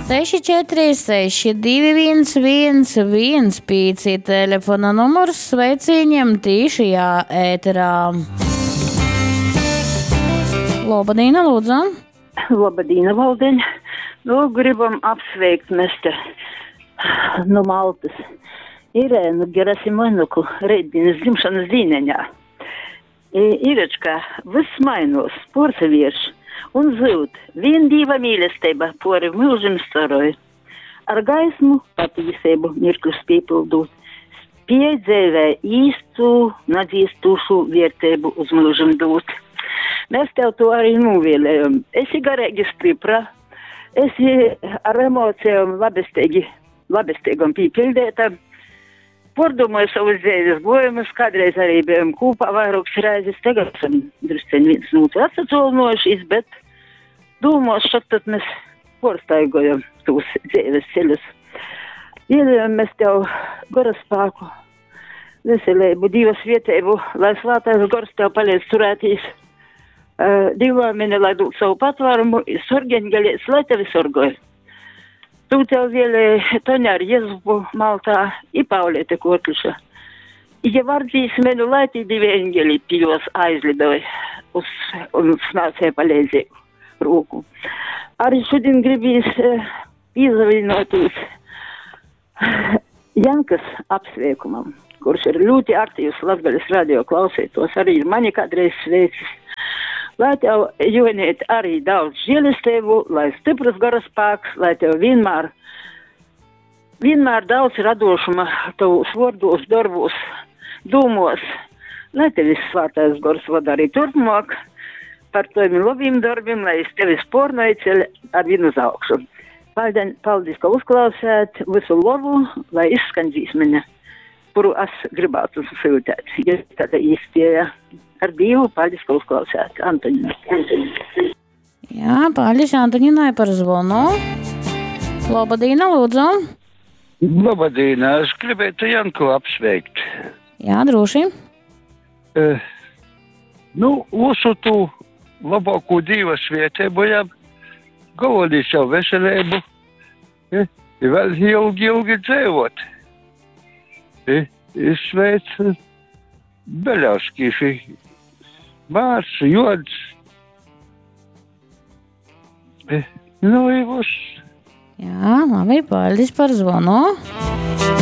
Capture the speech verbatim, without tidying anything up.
seši četri seši divi viens viens viens pīci telefona numurs sveicīņiem tīšajā ēterā. Labadīna, lūdzu. Labadīna, Valdeņ. Nu, gribam apsveikt mēs te no Maltas. Irēnu Gerasimonuku reitdienas dzimšanas dīneņā. Irečka, viss mainos, porsavieš un zyud. Vien Dīva mīlestība pori mūžim staroj. Ar gaismu patīsību mirkļus piepildūt. Spiej dzīvē īstu, nadzīstūšu vērtību uz mūžim dūt. Mēs tev to arī novēlējam. Esi garīgi stipra, esi ar emocijām labestīgi, labestīgam pīpildēta. Pordomāju savus dzīves gojumus, kādreiz arī bijām kopā vairākas reizes, tagad esam drusceņ viens no otru atsatolnojušies, bet domos, šad tad mēs porstaigojam tos dzīves ceļus. Ielējam mēs tev gara spēku, veselību, Dieva svētību, lai svētais gars tev palīdz turētīs. Uh, Dīvāmini, lai dod savu patvērumu, sorgeņgaļies, lai tevi sorgoja. Tu tev vēlēja Toņa ar Jēzupu Maltā i Paulēte Kotliša. Ja var dzīsmenu, lai tī divi eņģeli pie jos aizlidoja uz, un snācēja palīdzību rūku. Arī šodien gribīs eh, piezavienoties Jankas apsveikumam, kurš ir ļoti aktīvs Latgales radio klausītos, arī mani kādreiz sveicis. Lai tev, Jonīt, arī daudz žēlistību, lai stiprs gara spēks, lai tev vienmēr, vienmēr daudz radošuma tavos vārdos, darbos, dūmos, lai tevi svētais gors vada arī turpmāk par taviem labiem darbiem, lai es tevi spornoju ceļ ar vienu uz augšu. Paldies, paldies, ka uzklausāt visu labu, lai izskan dzīsmene, kuru es gribētu sūtīt, ja tāda īstieja. Ar Dievu, paldies, ka uzklausāt. Antonina. Jā, paldies Antoninai par zvanu. Labadīna, lūdzu. Labadīna, es gribētu Janku apsveikt. Jā, droši. Uh, nu, visu tu labāko Dieva svētību jam, galvenais jau veselību, eh, i vēl ilgi, ilgi dzīvot. Eh, sveic Beļauskīši, Mārs, Jods. Eh, nu, i viss. Jā, labi, paldies par zvanu.